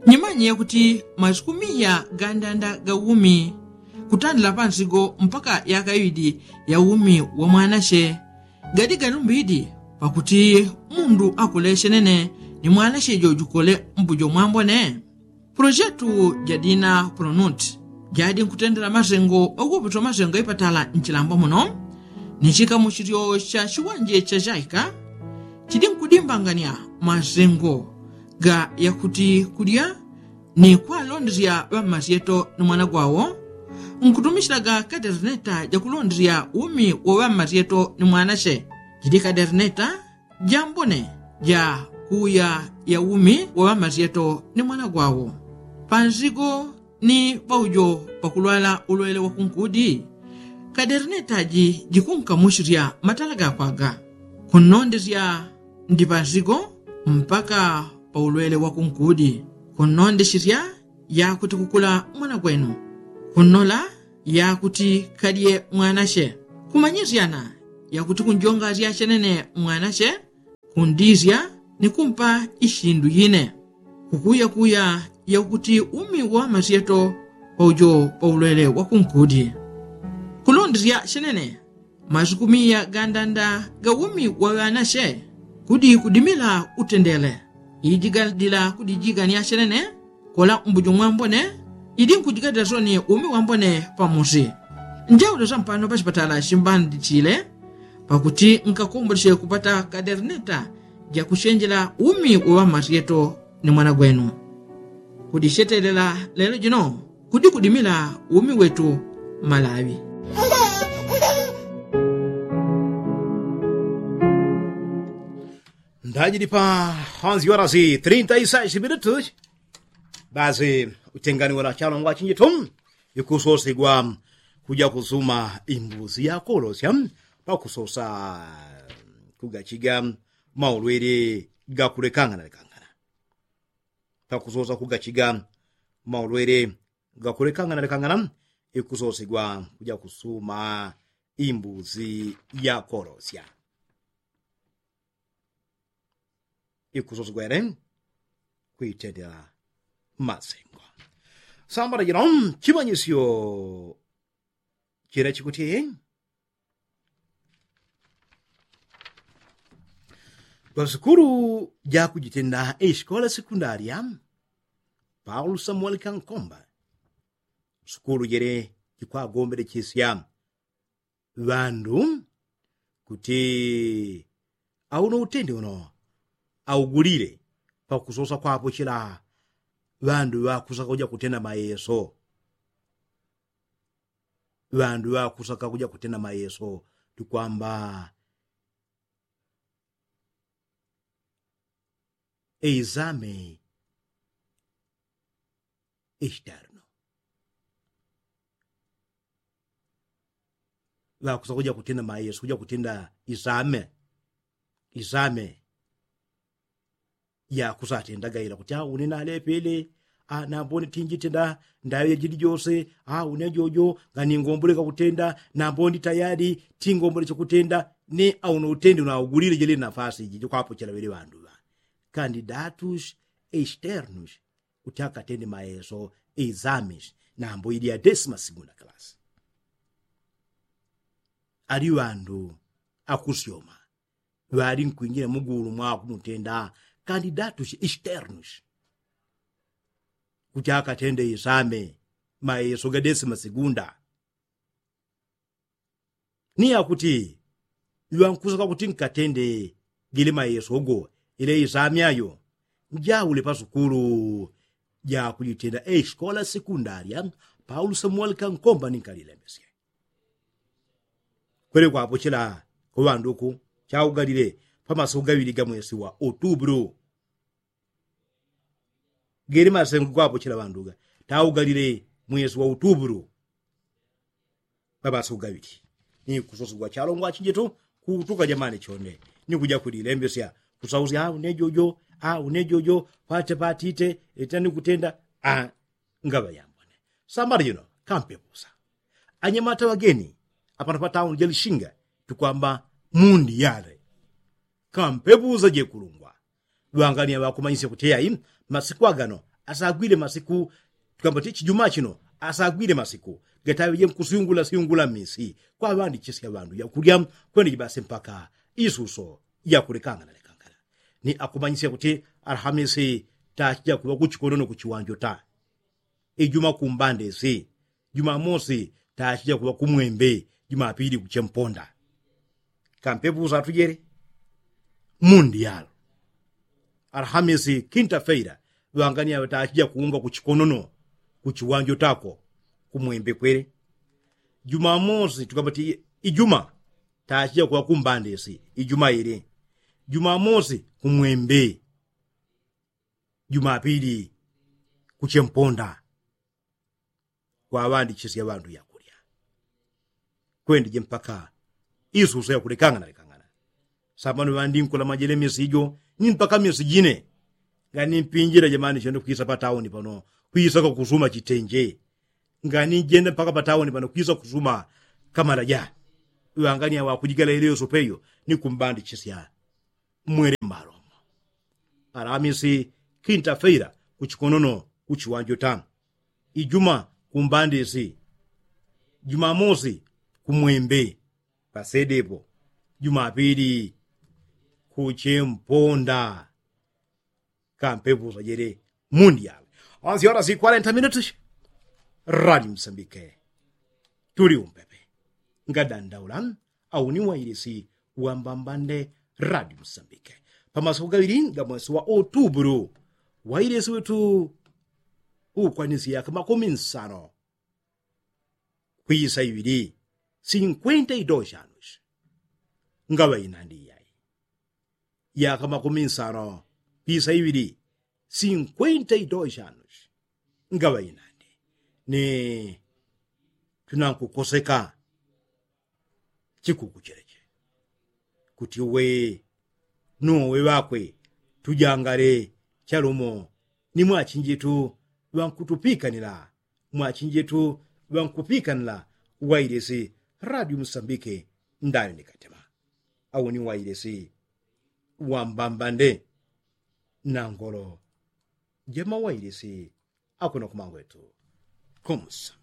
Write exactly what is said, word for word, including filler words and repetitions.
Nyimanye yakuti masiku miya gandanda ga umi kutandila pansigo mpaka yaka iwidi ya umi wa mwanache gadi galumbidi pakuti mundu akule chenene ni mwanache jojukole mbujo mwambone. Pulojetu jadina pulonuti jadi nkutendela masengo oguputo masengo ipatala nchilambwa muno ni chikamuchilyo cha chiwanje cha chaika chidi nkudimbangania masengo ga yakuti kulya ni kwalondesya ŵammasyeto ni mwana gwawo nkutumisyilaga kaderneta jakulondesya umi wo ŵammasyeto ni mwanache. Jidi kaderneta jambone ja kuuya ya umi wo ŵammasyeto ni mwana gwawo pansigo ni paujo pakulwala ulwele wa kunkudi. Kaderneta ji jikunkamuchisya matala gakwaga kunnondesya ndi pansigo mpaka pa ulwele wa kunkudi kunnondesya yakuti kukula mwana gwenu kunnola yakuti kadye mwanache kumanyisyana yakuti kunjongasya chenene mwanache kundisya ni kumpa ishindu yine kukuyakuya yakuti umi wa masyeto paujo pa ulwele wa kunkudi. Kulondesya chenene masiku miya gandanda ga umi wa ŵanache kudi kudimila utendele iji gandila kudijigania chenene kola mbujo mwambone. Idi nkujigadila soni umi wambone pamusi njaule sampano pachipatala chimbandichile pakuti nkakomboleche kupata kaderneta jakuchenjela umi wa ŵammasyeto ni mwana gwenu. Kudichetelela lelo jino kudi kudimila umi wetu malawi. Ndajili pa onzi horas y trinta y seis minutos. Basi utengani wala chalo ngwa chinjitu ikusosigwa kuja kusuma imbuzi yakolosya pakusosa kugachiga maulwele gakulekangana lekangana pakusosa kugachiga maulwele gakulekangana lekangana ikusosigwa kuja kusuma imbuzi yakolosya ikusosigwa yale kuitendela masengo. Sambala jino chimanyisyo chila chikuti pa sukulu jakujitenda isikola sekundaria paulo samuel kankomba sukulu jele jikwagombelechesya ŵandu kuti auno utende uno augulile pakusosa kwapochela ŵandu ŵakusaka kuja kutenda mayeso ŵandu ŵakusaka kuja kutenda mayeso tukwamba eizame externo ŵakusa kuja kutenda mayesu kuja kutenda isame isame yakusa atenda gaila kuti aune nalepele anambone tinjitenda ndayo jajili jose aune jojo nganingomboleka kutenda nambone tayali tingomboleche kutenda ni aune utende unaugulile jili nafasi iji jikwapochela ŵele ŵandu ŵa kandidatus externus kuti akatende mayeso exames nambo ili ya desima segunda kalasi ali ŵandu akusyoma ŵali nkwinjila mugulu mwakumutenda kandidatus externus kuti akatende exame mayeso ga desima segunda ni yakuti iŵankusaka kuti nkatende gili mayeso go ile isami ayo njaule pasukulu jakujitenda eskola sekundaria paulo samuel kankomba ninkalilembesye kwele kwapochela kuŵanduku chaugalile pamasiku gaŵili ga mwesi wa utubulu gele masengo gwapochela ŵanduga taugalile mwesi wa utubulu ŵaŵasiku gaŵili ni kusosegwa chalongwa achinjetu kutuka jamani chonde ni kuja kulilembesya kusausya au ne jojo au ne jojo pate patite ita ni kutenda a ngaŵa yambone sambala jino kampepusa anyamata ŵageni apano pa tauni ja lishinga tukwamba mundi yale kampepusa jekulungwa ŵangania ŵakumanyisya kuti eyayi masiku agano Asagwile masiku tukamba ti chijuma chino asagwile masiku gataŵeje nkusyungula syungula mmisi kwaŵandichisya ŵandu yakulya. Kwendeje basi mpaka isuso yakulekangana lekangana ni akumanyisya kuti alhamisi tachija kuŵa kuchikonono kuchiwanjo ta ijuma kumbandesi jumamosi tachija kuŵa kumwembe jumapili kuchemponda. Kampepusa atujele mundi yalo alhamisi kinta feila ŵangani aŵe tachija kuunga kuchikonono kuchiwanjo tako kumwembe kwele. Jumamosi tukamba ti ijuma tachija kuŵa kumbandesi ijuma ile jumamosi kumwembe jumapili kuchemponda kwaŵandichisya ŵandu yakulya. Kwendeje mpaka isuso yakulekangana lekangana. Sambano ŵandinkula majele misi ijo ni mpaka misi jine. Ngani mpinjila jamani chende kwisa patauni pano kwisa kakusuma chitenje. Ngani njenda mpaka patauni pano kwisa kusuma kamala ja ŵangani aŵakujigala ileyo sopeyo ni kumbandichisya mwele mbalomo. Alamisi kinta feila kuchikonono kuchiwanjo ta ijuma kumbandisi jumamosi kumwembe pasedepo jumapili kuchemponda. Kampepusa jele mundi yalo. Onse ora si kwarenta minuti radi msambike tuli umpepe ngadandaula. Auni wailisi wambambande radi msambike pamasiku gaŵili gamwesi wa otubulu wailisi wetu ukwanisi yaka makumi nsano kwisa iŵili sinkwenta idosi anusi ngaŵa inandi iyai yaka makumi nsano kwisa iŵili sinkwenta idosi anusi ngaŵa inandi ni tunankukoseka chikuku cheleche kuti uwe nuwe ŵakwe tujangale chalumo ni mwachinjitu ŵankutupikanila mwachinjitu ŵankupikanila wailisi radio msambike ndani ni katema. Auni wailisi wambambande nangolo jema wailisi akuno kumangwetu kumusa.